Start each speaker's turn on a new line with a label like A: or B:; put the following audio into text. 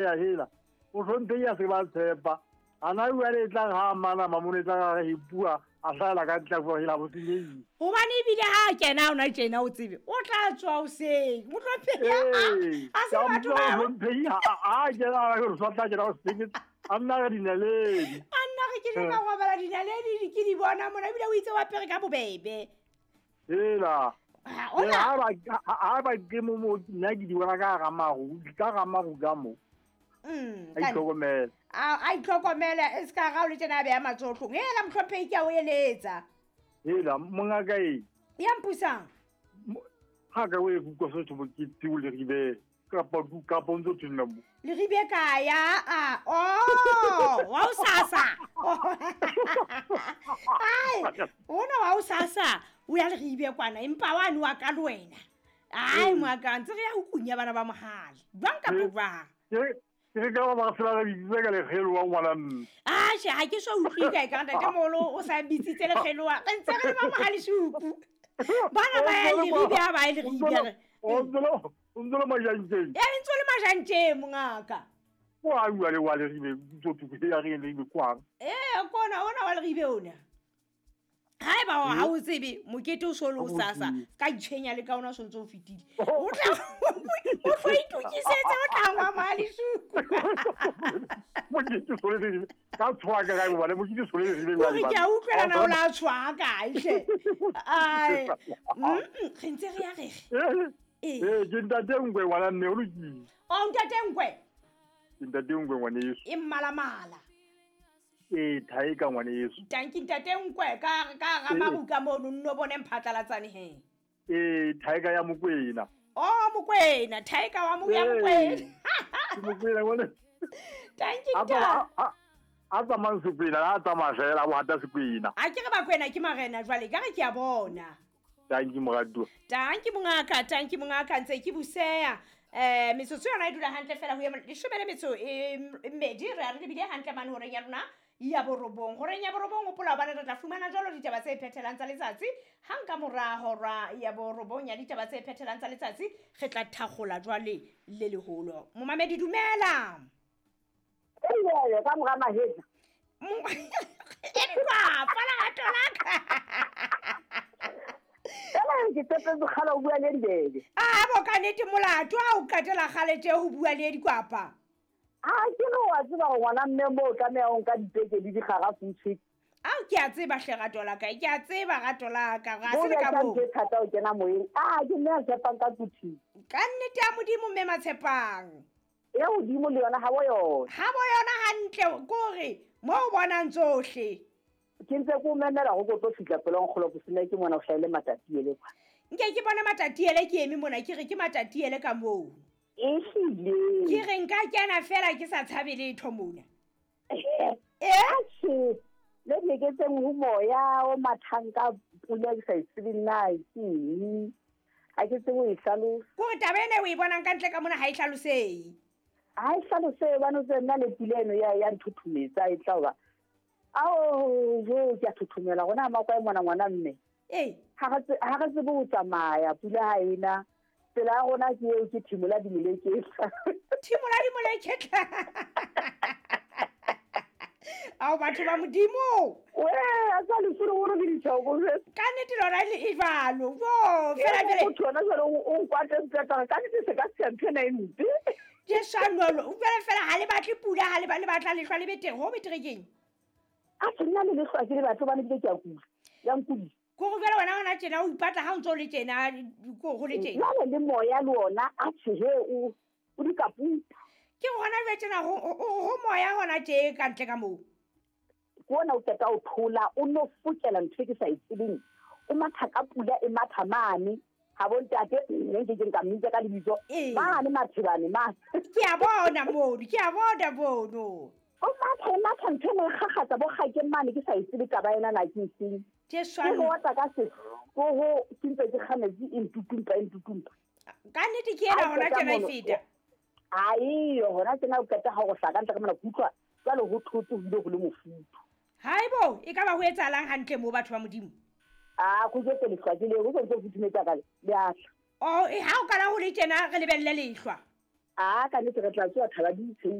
A: Ya hela o hlomphehi a se ba tshepa ana jwale e tla re ha mana mamone e tla re re bua a hlahela ka ntle a hela bo senyehile.
B: Gobane ebile ha a kena ona tjena o tsebe o tla tswa hoseng mohlomphei a se batho ba
A: mohlomphei ha a kena a re tla kena hoseng a nna re dinaledi
B: a nna re ke ka robala dinaledi ke di bona mona ebile o itse wa pere ka bobebe.
A: Hela ha ba ke mo mo nna ke di bona ka ga maru ka ga maru ka mo. A itlhokomele.
B: A itlhokomele e se ka ga o le tjena a beya matsohlong. Hela mohlomphei ke a o eletsa.
A: Hela mongaka e.
B: Ya mpusang.
A: Ha ka o e kutlwa se tho ke tsiu le ribe kapa kapa ntse tshwana mo.
B: Le ribe ka ya a oh wa o sasa. Ai ona wa o sasa o ya le ribe kwana empa wa no ka le wena. Ai moaka ntse re ya ho kunya bana ba mohale. Jwang kapa jwang?
A: Ke ka ba se ba bitse ka lekgeloa ngwana mme.
B: Ah, she ha ke so utlwe ka ka ntate moholo o sa bitsitse lekgeloa. Re ntse re le ba mohale suku. Bana ba ya le ribe ha ba le ribe.
A: O ntse le majantjeng.
B: E ntse le majantjeng mongaka.
A: Wa bua le wa le ribe tso tu ke ya re le ribe kwang.
B: Eh kona ona wa le ribe ona. Haeba ha o tsebe mokete o so le o sasa ka itshwenya le ka ona so ntse o fetile. O tla o tlo itokisetse o tla ngwa mali suku.
A: Mokete so le ka tshwa ka ka bana mokete so le ribe
B: wa. Ke a utlwela na o la tshwa ka hle. Ai re ntse re ya re.
A: Eh ke ntate ngwe ngwana mme o lokile.
B: O ntate ngwe.
A: Ke ntate ngwe ngwane yeso.
B: E mmalamala.
A: E thaeka ngwane yeso.
B: Tanki ntate nkwe ka ka ga maruka mono nno bone mphatlalatsane he.
A: E thaeka ya Mokwena.
B: Oh Mokwena, thaeka wa mo ya Mokwena.
A: Ke Mokwena ngwane.
B: Tanki nta.
A: A tsamang Sekwena, a tsamaya fela bo hata Sekwena.
B: A ke re Bakwena ke marena jwale ka re ke a bona.
A: Tanki moratuwa.
B: Tanki mongaka, tanki mongaka ntse ke buseya. Metsotso yona e dula hantle fela ho ya leshome le metso e mmedi re a re lebile hantle mane horeng ya rona ya borobong. Horeng ya borobong hopola hobane re tla fumana jwalo ditaba tse phethelang tsa letsatsi. Hang ka mora hora ya borobong ya ditaba tse phethelang tsa letsatsi re tla thakgola jwale le leholo. Momamedi dumela.
C: Ee ka mora mahetla.
B: Empa fala ga
C: Ela ke tsepetse kgala o bua le dibebe.
B: Ah bo ka nnete molato ha o qetela kgalete ho bua le dikwapa.
C: Ah ke no wa tseba gore ngwana mme mo o tlameha o nka dipeke le digarafu tshwe.
B: Ao ke a tseba hle rato la ka, ke a tseba rato la ka, ga se ka bo.
C: Ke thata o kena moyeng. Ah ke nna tshepang ka kuthi.
B: Ka nnete ya Modimo mme Matshepang.
C: Ya hodimo le yona ha bo yona.
B: Ha bo yona hantle kore mo o bonang tsohle.
C: Ke ntse ko memela go tlo fitla pele nkgolo go sena ke mona o hlaile matatiele kwa.
B: Nke ke bona matatiele ke eme mona ke re ke matatiele ka moo.
C: Ehlile.
B: Ke re nka kena fela ke sa tshabe letho mona.
C: Eh le dieketseng ho moya o mathang ka pula ke sa e tsebe nna ke eng. Ha ke tsebe ho e hlalosa.
B: Kore taba ena o e bonang ka ntle ka mona ha e hlalosehe.
C: Ha e hlalosehe bana tse nna le pula eno ya nthuthumetsa e tla ba. Ao jo ke a thuthumela gona makwa e mona ngwana mme.
B: Eh
C: ha re tsebe ho tsamaya pula ha ena. Tsela ya rona ke eo ke thimola dimoleketla.
B: Thimola dimoleketla. Ao batho ba Modimo.
C: We a sa le sure gore ke ditjhoko.
B: Ka nnete lona le e jwalo. Jo fela fela.
C: Motho yona jwale o nkwate ntata ka nnete se ka se ntho ena e mpe.
B: Ke shanolo fela fela ha le batle pula ha le ba le batla lehlwa le betere ho betere keng.
C: A se nna le lehlwa ke le batho ba ne ke a kula. Ya nkudi.
B: Ko go fela wena hona tjena o ipatla ha o ntse o le tjena ko go le tjena.
C: Jwale le moya le ona a tjhe o dikaputa.
B: Ke hona jwale tjena ho moya hona tje ka ntle ka moo.
C: Ke ona o qeta o thola o no fokela ntho e ke sa e tsebeng. O matha ka pula e matha mane. Ha bo ntate nne ke nka mmitsa ka lebitso. Mane mathebane mane.
B: Ke a bona mono, ke a bona mono.
C: O matha matha ntho e kgakgatsa bo kgake mane ke sa e tsebe taba ena na ke eng.
B: Ke swana.
C: Ke ho tla ka se go ho ke ntse ke kgametsi e ntutumpa e ntutumpa.
B: Ka nnete ke ena hona tjena e feta.
C: Ai hona tjena o qeta ha go hlaka ntle ka mona kutlwa jwale ho thotse ho ile ho le mofuthu.
B: Haibo e ka ba ho etsahalang hantle mo batho ba Modimo.
C: Ah go jetse lehlwa ke le go ntse go futhumetsa ka le a tla.
B: Oh e ha o kana ho le tjena re lebelle lehlwa.
C: A ka nnete re tla tsoa thaba di.